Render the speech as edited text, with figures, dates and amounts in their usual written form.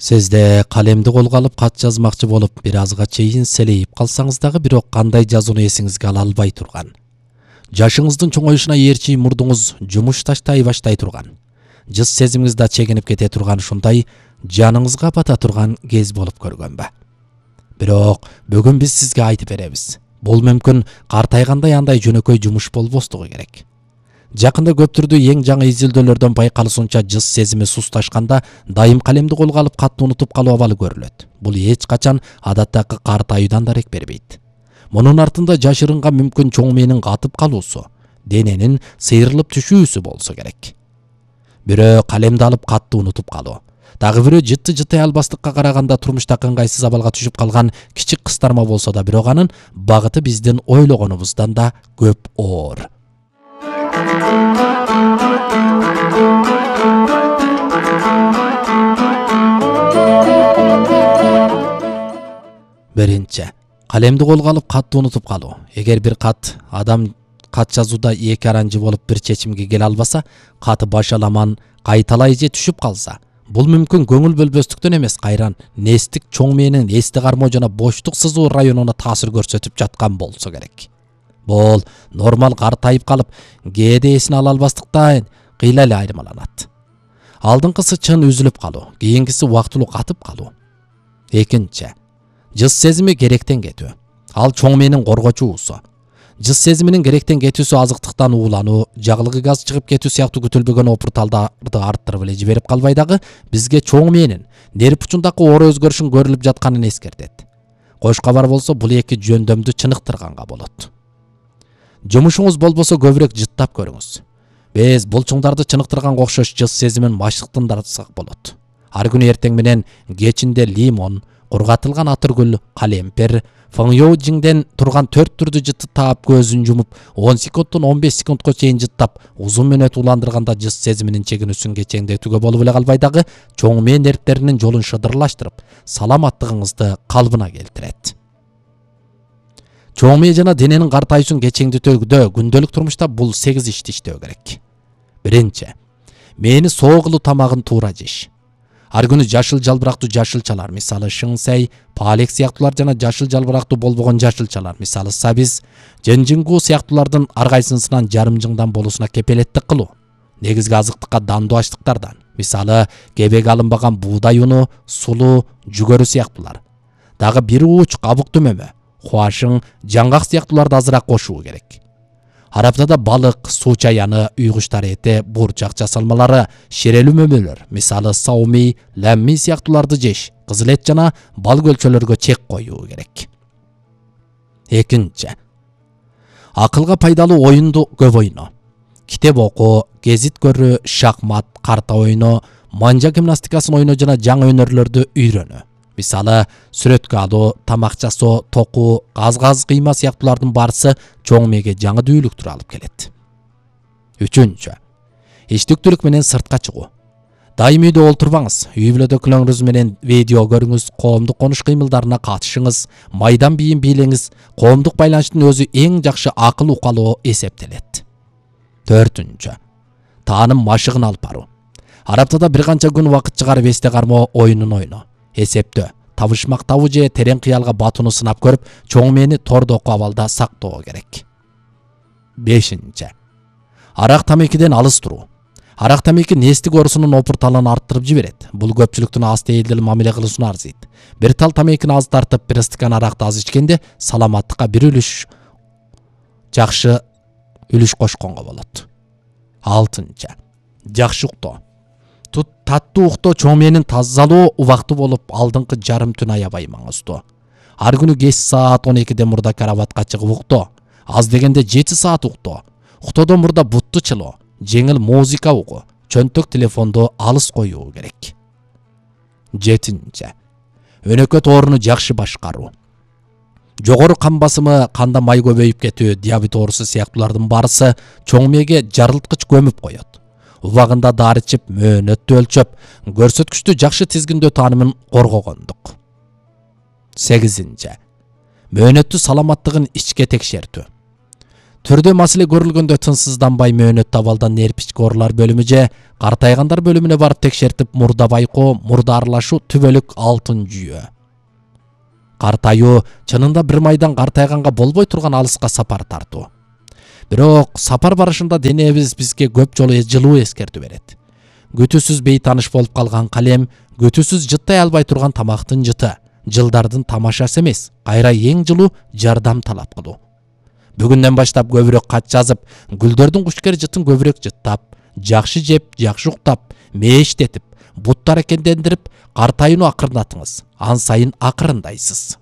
Сизде калемди колго алып кат жазмакчы болуп, бир азга чейин селейип калсаңыз дагы бирок кандай жазууну эсиңизге ала албай турган. Жашыңыздын чоңоюшуна ээрчи мурдуңуз жумуш таштай баштай турган. Жыз сезимиңиз да чегинип кете турган ушундай жаныңызга бата турган кез болуп көргөнбү? Бирок бүгүн биз сизге айтып беребиз. Бул мүмкүн картайгандай андай жөнөкөй жумуш болбостугу керек. Жакында көптүрдү эң жаңы изилдөөлөрдөн байкалышынча жыз сезими сусташканда дайым калемди колго алып катты унутуп калуу абалы көрүлөт. Бул эч качан адаттагы картайуудан дарек бербейт. Мунун артында жашырынган мүмкүн чоң мээнин катып калуусу, дененин сыйрылып түшүүсү болсо керек. Бирөө калемди алып катты унутуп калуу. Дагы бирөө жыты албастыкка караганда турмушта ыңгайсыз абалга түшүп калган кичик кыстарма болсо да, бирок анын багыты биздин ойлогонубуздан да көп оор. Биринчи, калемди колго алып катты унутуп калуу. Эгер бир адам кат жазууда эки аранжы болуп бир чечимге келе албаса, каты башаламан кайталай же түшүп калса, бул мүмкүн көңүл бөлбөстүктөн эмес, кайран нестик чоң мээнин эсте кармоо жана боштук сызуу районуна таасир көрсөтүп жаткан болсо керек. Бул нормал картайып калып, кээде эсин ала албастыктан кыйла эле айырмаланат. Алдыңкысы чын үзүлүп калуу, кийинкиси убактылуу катып калуу. Экинчи, жыз сезими керектен кетүү. Ал чоң мээнин коргочуусу. Жыз сезиминин керектен кетүүсү азыктыктан уулануу, жагылгы газ чыгып кетүү сыяктуу күтүлбөгөн опурталдарды арттырып эле жиберип калбай дагы бизге чоң мээнин нерв учундагы оор өзгөрүшүн көрүлүп жатканын эскертет. Кош кабар болсо, бул эки жөндөмдү чыныктырганга болот. Жумушуңуз болбосо көбүрөөк жыттап көрүңүз. Биз булчуңдарды чыныктырганга окшош жыз сезимин машыктандырсак болот. Ар күнү эртең менен кечинде лимон, кургатылган атыргүл, калемпир, фыңйоужиңден турган 4 түрдүү жытты таап көзүн жумуп, 10 секундтон 15 секундка чейин жыттап, узун мөөнөт уландырганда жыз сезиминин чегинүүсүн кечеңдетүүгө болуп эле калбай дагы чоң мээн нервтеринин жолун шыдырлаштырып, саламаттыгыңызды калыбына келтирет. Чоң мээ жана дененин картайуусун кечеңдетүүдө күндөлүк турмушта бул 8 ишти иштөө керек. Биринчи, мээни соо кылуу, тамагын туура жеш. Ар күнү жашыл жалбырактуу жашылчалар, мисалы шыңсай, палек сыяктуулар жана жашыл жалбырактуу болбогон жашылчалар, мисалы сабиз, жынжыңгуу сыяктуулардын ар кайсысынан жарым жыңдан болуусуна кепелеттик кылуу. Негизги азыктыкка дандуу аштыктардан, мисалы кебеги алынбаган буудай уну, сулуу, жүгөрү сыяктуулар. Дагы бир ууч кабык түмөмө, хуашың, жаңгак сыяктууларды азыраак кошуу керек. Ар аптада балык, суу чаяны, үй куштары эти, бурчак жасалмалары, шерелүү мөмөлөр, мисалы саумий, ләмми сыяктууларды жеш, кызыл эт жана бал көлчөлөргө чек коюу керек. Экинчи, акылга пайдалуу оюнду көп ойноо. Китеп окуу, гезит көрүү, шахмат, карта ойноо, манжа гимнастикасын ойноо жана жаңы өнөрлөрдү үйрөнүү. Мисалы сүрөткө алуу, тамак жасоо, токуу, газ кыйма сыяктуулардын барысы чоң мээге жаңы дүүлүктүр алып келет. Үчүнчү, иштиктүүлүк менен сыртка чыгуу. Дайым үйдө олтурбаңыз, үй бүлөдөгүлөрүңүз менен видео көрүңүз, коомдук конуш кыймылдарына катышыңыз, майдан бийин бийлеңиз. Коомдук байланыштын өзү эң жакшы акыл укалоо эсептелет. Төртүнчү, тааным машыгын алып баруу. Ар аптада бир канча күн убакыт чыгарып эсте кармоо оюнун ойноо. Эсептөө, табышмак табуу же терең кыялга батууну сынап көрүп, чоң мээни тордоку абалда сактоо керек. Бешинчи, арак тамекиден алыс туруу. Арак тамеки нестик оорусунун опурталын арттырып жиберет. Бул көпчүлүктүн аз тээдил мамиле кылуусуна арзыйт. Бир тал тамекини аз тартып, бир стакан аракты аз ичкенде саламаттыкка бир жакшы үлүш кошконго болот. Алтынчы, жакшы уктоо. Таттуу уктоо чоң мээнин тазалоо убакты болуп, алдыңкы жарым түн аябай маңыздуу. Ар күнү кеч саат 12ден мурда карабатка чыгып уктоо. Аз дегенде 7 саат уктоо. Уктоодон мурда бутту чылоо, жеңил музыка угуу, чөнтөк телефонду алыс коюу керек. Жетинчи, өнөкөт ооруну жакшы башкаруу. Жогору кан басымы, канда май көбөйүп кетүү, диабет оорусу сыяктуулардын барысы чоң мээге жарылткыч көмүп коет. Убагында дары ичип, мөөнөттү өлчөп, көрсөткүчтү жакшы тизгиндөө таанымын коргогондук. 8. Мөөнөттү саламаттыгын ичке текшертүү. түрдө маселе көрүлгөндө тынсызданбай мөөнөт табалдан нерпички оорулар бөлүмү же картайгандар бөлүмүнө барып текшертип, мурда байкоо, мурда аралашуу түбөлүк алтын жүйө. Картайуу чынында бир майдан картайганга болбой турган алыска сапар тартуу. Бирок сапар барышында денебиз бизге көп жолу жылуу эскертүү берет. Күтүүсүз бейтаныш болуп калган калем, күтүүсүз жыттай албай турган тамактын жыты, жылдардын тамашасы эмес, кайра эң жылуу жардам талап кылуу. Бүгүндөн баштап көбүрөөк кат жазып, гүлдөрдүн кушкер жытын көбүрөөк жыттап, жакшы жеп, жакшы уктап, мээштетип, бутты аракеттендирип, картайууну акырындатыңыз. Ан сайын акырындайсыз.